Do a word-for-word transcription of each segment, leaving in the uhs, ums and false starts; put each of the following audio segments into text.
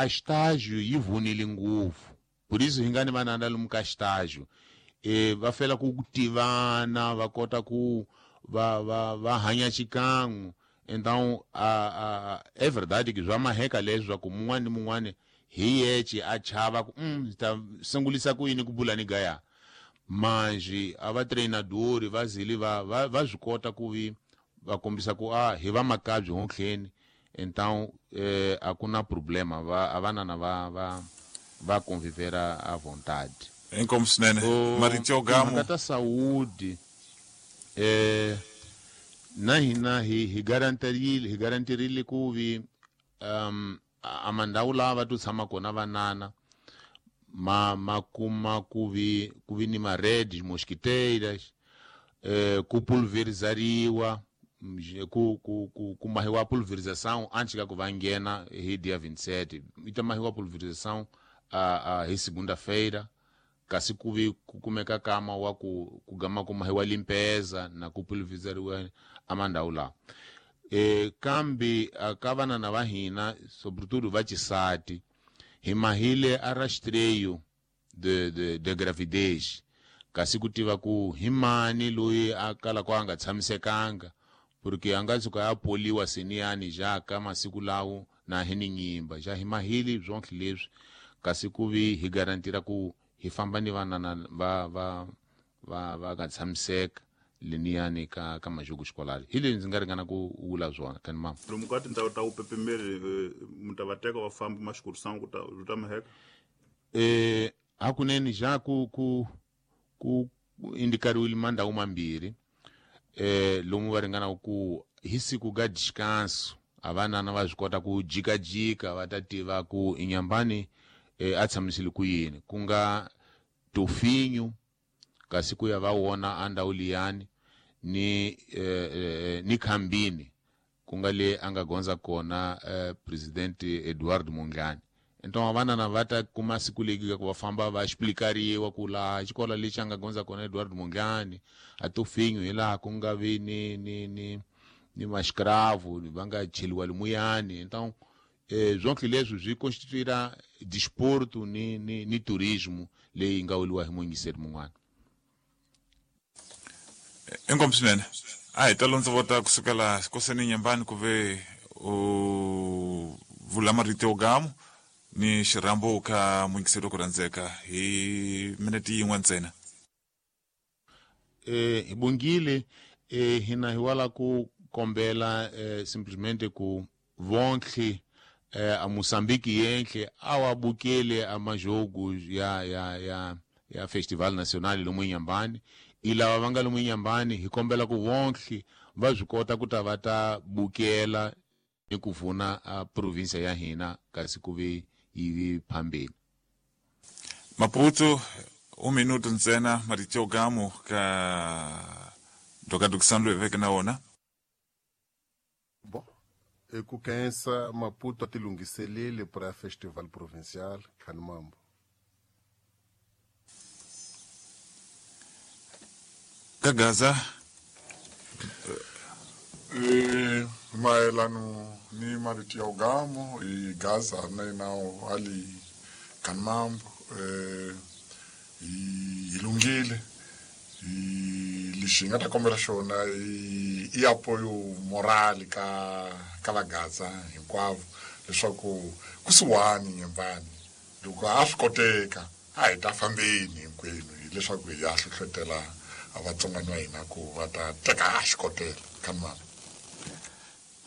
a estágio yi vunile ngopfu por isso hi nga ni vanana lomu ka estágio e va fela ku tivana va kota ku va va va hanya xikan'we. Então a a é verdade que swa maheka leswaku mun'wana ni mun'wana hi yexe a chava ku mm, ta sungulisa ku yini ku bula ni gaya manji a va treinadori va zili va va va swi kota ku vi va kombisa ku a hi va makabyi honhleni. Então eh, a ku na problema va a vanana va va va convivera à vontade. Inkomu swinene marito yo gamo timhaka ta saúde eh, na hina hi hi garantirile hi garantirile ku vi um, a mandhawu lawa va to tshama kona vanana ma ma kuma ku vi ku vi ni ma-redes mosquiteiras eh, ku pulverizariwa ku ku ku ku mahiwa pulverização antes ka ku va nghena hi dia vinte e sete yi ta mahiwa pulverização a, a hi segunda-feira kasi ku vi ku kumeka kama wa ku ku gama ku mahiwa limpeza na ku pulverizariwa a mandhawu lawa. E, kambe ka vanana va hina sobretudo va xisati hi mahile a rastreio de, de, de gravidez kasi ku tiva ku hi mani loyi a kalaka a nga tshamisekanga porque a nga tshuka a poliwa seniyani ja ka masiku lawo na hi ni nyimba ja hi mahile swonke leswi kasi ku vi hi garantira ku hi famba ni vanana va va va va nga tshamiseka leniyani ka ka majogo escolar hi leswi ndzi nga ringana ku vula swona kani mama lomu ka tindhawu ta vupepemeri mi ta va teka va famba maxikurisana ku ta byi ta maheka eh hakunene ja ku ku ku indikariwile mandhawu mambirhi eh lomu va ringana ku hi siku ga descanso a vanana va swi kota ku jikajika va ta tiva ku inyambani eh, a tshamisile ku yini ku nga tofinyo kasi ku ya va wona a ndhawu liyani ni eh, eh, ni khambini ku nga le a nga gondza kona eh, presidente Eduardo Mondlane. Então vanana va ta kuma siku leki ku va famba va explicariwa ku laha xikolo lexi a nga gondza kona Eduardo Mondlane a tofinyo hi laha ku nga vi ni ni ni ni mascravo va nga cheliwa limuyani. Então eh, zonke leswi swi constituira desporto ni ni ni turismo leyi nga weliwa hi muyingiseri mun'wana. Inkomu swinene a hi ta londzovota kusukela xikoseni Nyembani ku ve u vula marito yo gamo ni xirhambo ka muyingiseri ku rhandzeka hi minete yin'we ntsena. Eh, hi bongile eh, hina hi wala ku kombela eh, simplesmente ku vonke eh, a Moçambique yenhle a wa bukele a majogo ya ya ya ya Festival Nacional lomu Inhambane i lava va nga lomu Inhambane hi kombela ku vonke va swi kota ku ta va ta bukela ni ku vuna a provinsia ya hina kasi ku vi yi vi phambeni. Maputo um minuto ntsena marito yo gamo ka dokadukisano loyi veke na wona. Bom, e ku khensa Maputo a ti lunghiseleli para Festival Provincial Khanimambo. Ka Gaza e mayelano ni marito ya ugamo i Gaza na inawo ali Khanimambo eh i lunghile i lexi nga ta kombela xona i i apoio moral ka ka va Gaza hinkwavo leswaku kusuhani Nyembani loko a swi koteka a hi ta fambeni hinkwenu hileswaku hi ya hlohlotela vatsongwana va hina ku va ta teka xikotela Khanimambo.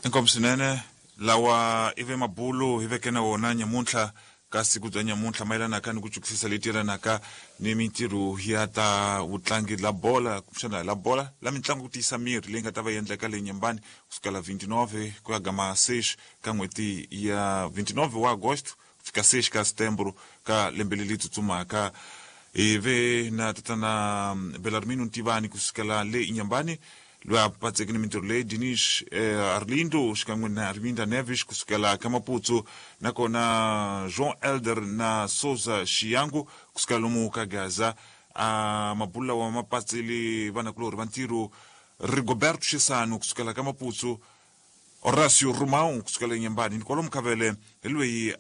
Inkomu swinene lawa i ve mabulo hi veke na wona nyamuntlha ka siku bya nyamuntlha mayelanaka ni ku chukisisa leti yelanaka ni mintirho ya ta vutlangi la bola kumbexana la bola la mitlangu ku tiyisa miri leyi nga ta va yi endleka le Nyembani kusukela vinte e nove ku ya gama seis ka n'hweti ya vinte e nove wa agosto ku fika seis ka setembro ka lembe leri tsutsumaka. Hi ve na tatana Belarmino Ntivani kusukela le Inhambane loyi a patseke ni mintirho leyi Dinis eh, Arlindo xikan'we na Arminda Neves kusukela ka Maputo nakona João Elder na Souza Xiyangu kusukela lomu ka Gaza a mabulu lawa ma patsile vanakulorhi va ntirho Rigoberto Xisano kusukela ka Maputo Horacio Romão kusukela eNyembani ni kwalomu ka vele hi loyi